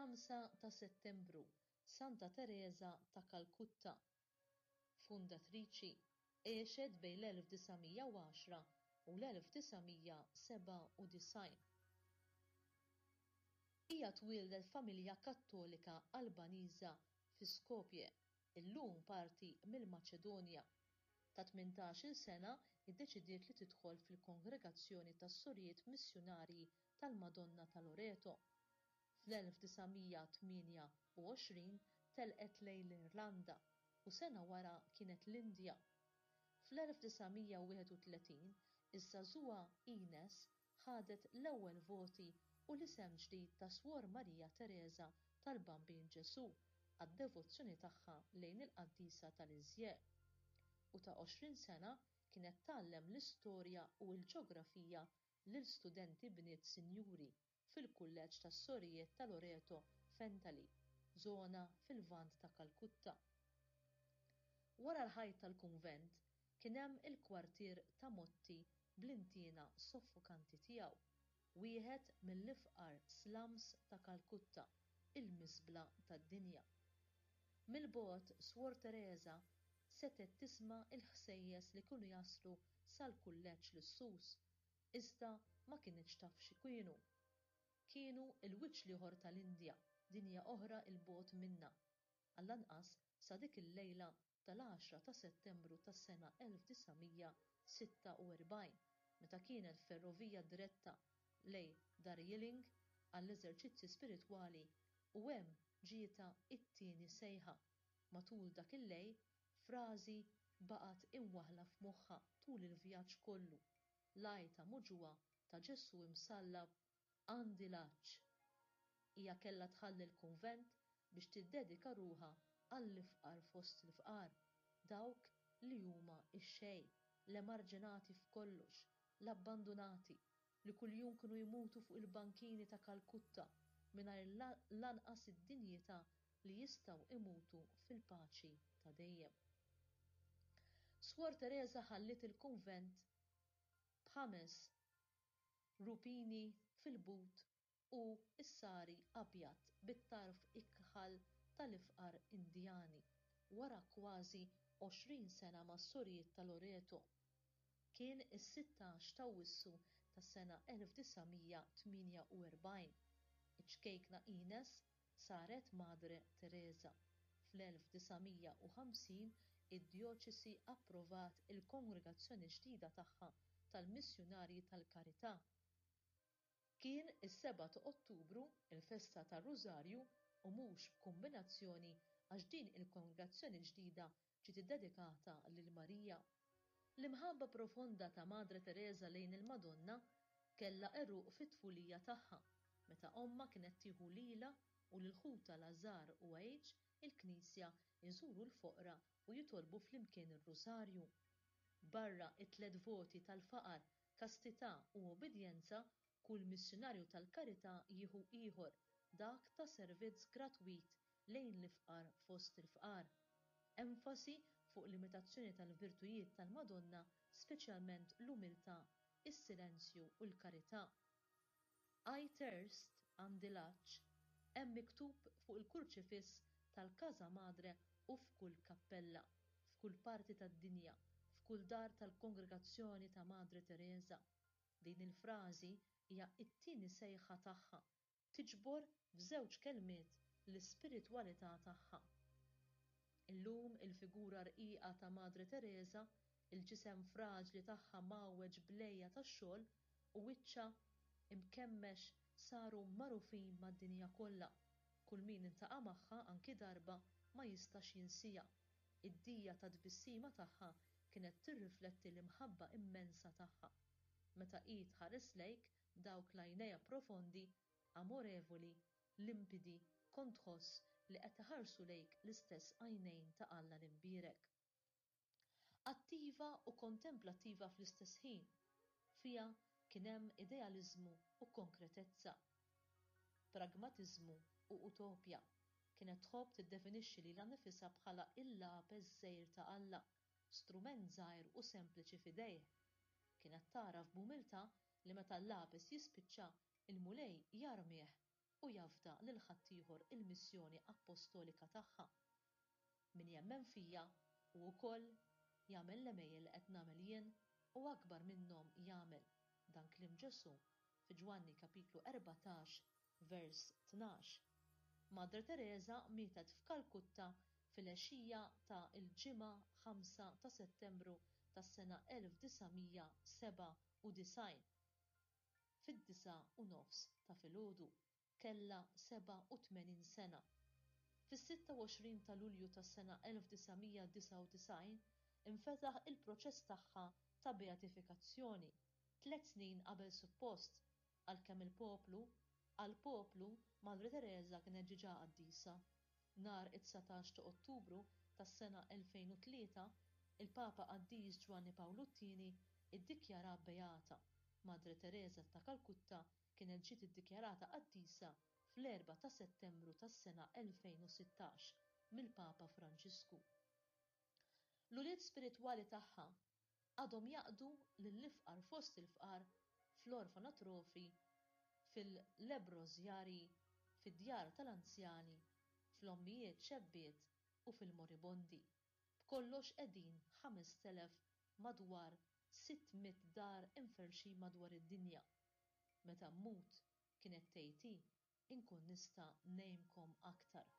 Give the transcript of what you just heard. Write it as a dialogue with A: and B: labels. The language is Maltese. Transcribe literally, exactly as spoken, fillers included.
A: Ħamsa ta' Settembru, Santa Tereża ta' Kalkutta. Fundatriċi, għexet bejn l-elf disa' mija u għaxra u l-elf disa' mija sebgħa u disgħin. Hija twieldet f'familja Kattolika Albaniża fi Skopje, illum parti mill-Maċedonja. Ta' tmintax-il sena iddeċidiet li tidħol fil-Kongregazzjoni tas-Sorijiet Missjunarji tal-Madonna ta' Loreto. Fl-elf disa' mija tmienja u għoxrin telqet lejn l-Irlanda u sena wara kienet l-Indja. Fl-elf disa' mija wieħed u tletin, iż-żagħżugħa Ines ħadet l-ewwel voti u l-isem ġdid ta' Swor Marija Teresa tal-Bambin Ġesù għad-devozzjoni tagħha lejn il-qaddisa tal-Iżje. U ta' għoxrin sena kienet tgħallem l-istorja u l-ġeografija lil studenti bniet sinjuri fil-kulleġġ tas-Sorijiet ta' Loreto f'Entally, żona fil-Lvant ta' Kalkutta. Wara l-ħajt tal-kunvent kien hemm il-kwartier ta' Motti bl-intiena soffokanti tiegħu, wieħed mill-ifqar slums ta' Kalkutta, il-miżbla tad-dinja. Mill-bogħod Swor Teresa setgħet tisma' l-ħsejjes li kienu jaslu sal-kulleġġ lussuż, iżda ma kinitx taf xi kienu. Kienu l-wiċċ l-ieħor tal-Indja, dinja oħra 'l bogħod minna, għall-anqas sa dik il-lejla tal-għaxra ta' Settembru tas-sena elf disa' mija sitta u erbgħin, meta kienet ferrovija diretta lejn Darjeeling għall-eżerċizzi spiritwali u hemm ġietha it-tieni sejħa. Matul dak il-lejl, frażi baqgħet imwaħħla f'moħħha tul il-vjaġġ kollu, l-għajta muġugħa ta' Ġesù imsallab għandi l-għatx. Hija kellha tħalli l-kunvent biex tiddedika ruħha għall-ifqar fost l-ifqar, dawk li huma x-xejn, l-emarġinati f'kollox, l-abbandunati, li kuljum kienu jmutu fuq il-bankini ta' Kalkutta mingħajr lanqas id-dinjità li jistgħu imutu fil-paċi ta' dejjem. Swor Teresa ħalliet il-kunvent b'ħames rupini fil-but u s-sari abjad bit-tarf ikħal tal-ifqar Indjani wara kważi għoxrin sena mas-sorijiet ta' Loreto. Kien is-sittax ta' Awwissu tas-sena elf disa' mija tmienja u erbgħin. Iċ-ċkejkna Ines saret Madre Teresa. Fl-elf disa' mija u ħamsin id-djoċesi approvat il-kongregazzjoni ġdida tagħha tal-Missjunarji tal-Karità. Kien is-seba' ta' Ottubru, il-festa tar-Rużarju, u mhux b'kombinazzjoni għax din il-kongregazzjoni ġdida ġiet iddedikata lil Marija. L-imħabba profonda ta' Madre Teresa lejn il-Madonna kellha għeruq fit-tfulija tagħha, meta ommha kienet tieħu lilha u lil ħutha Lazar u Għejġ il-Knisja jżuru l-foqra u jitolbu flimkien ir-Rużarju. Barra it-tliet voti tal-faqar, kastità u obbedjenza, kull missjunarju tal-karità jieħu ieħor, dak ta' servizz gratwit lejn l-ifqar fost il-fqar. Enfasi fuq l-imitazzjoni tal-virtujiet tal-Madonna, speċjalment l-umiltà, is-silenzju u l-karità. I thirst, għandi l-għatx, hemm miktub fuq il-kurċifiss tal-Casa Madre u f'kull kappella, f'kull parti tad-dinja, f'kull dar tal-kongregazzjoni ta' Madre Teresa. Din il-frażi hija t-tieni sejħa tagħha, tiġbor f'żewġ kelmiet l-ispiritwalità tagħha. Illum il-figura rqiqa ta' Madre Teresa, il-ġisem fraġli tagħha mgħawweġ b'lejja tax-xogħol u wiċċha imkemmex saru magħrufin mad-dinja kollha. Kull min intaqa' magħha anki darba ma jistax jinsija. Id-dija ta' tbissima tagħha kienet tirrifletti l-imħabba immensa tagħha. Meta hi tħares lejk dawk l-għajnejha profondi, amorevoli, limpidi, kont tħoss li qed iħarsu lejk l-istess għajnejn ta' Alla l-imbierek. Attiva u kontemplattiva fl-istess ħin, fiha kien hemm idealiżmu u konkretezza, pragmatiżmu u utopja. Kienet tħobb tiddefinixxi lilha nnifisha bħala il-lapes żgħir ta' Alla, strument żgħir u sempliċi f'idejh. Kienet tagħraf b'umiltà li meta l-lapes jispiċċa, il-Mulej jarmih u jafda lil ħaddieħor il-missjoni appostolika tagħha. Min jemmen fija u wkoll jagħmel l-għemejjel li qed nagħmel jien u akbar minnhom jagħmel. Dan kliem Ġesù fi Ġwanni kapitlu erbatax vers tnax. Madre Teresa mietet f'Kalkutta fil-għexija ta' l-Ġimgħa ħamsa ta' Settembru tas-sena elf disa' mija sebgħa u disgħin fid-disgħa u nofs ta' filgħodu. Kellha sebgħa u tmenin sena. Fis-sitta u għoxrin ta' Lulju tas-sena elf disa' mija disgħa u disgħin infetaħ il-proċess tagħha ta' beatifikazzjoni, tliet snin qabel suppost, għalkemm il-poplu, għall-poplu, Madre Teresa kienet ġiġa qaddisa. Nhar it-dsatax ta' Ottubru tas-sena elfejn u tlieta, il-Papa Qaddis Ġwanni Pawlu t-Tieni iddikjara beata. Madre Teresa ta' Kalkutta kienet ġiet iddikjarata qaddisa fl-erbgħa ta' Settembru tas-sena elfejn u sittax mill-Papa Franġisku. L-ulied spiritwali tagħha għadhom jaqdu lill-ifqar fost il-fqar fl-orfanatrofi, fil-lebbrożjarji, fid-djar tal-anzjani, fl-ommijiet xebbiet u fil-moribondi. B'kollox qegħdin ħamest elef madwar sitt mitt dar imferrxin madwar id-dinja. Meta mmut, kienet tgħid hi, inkun nista' ngħinkom aktar.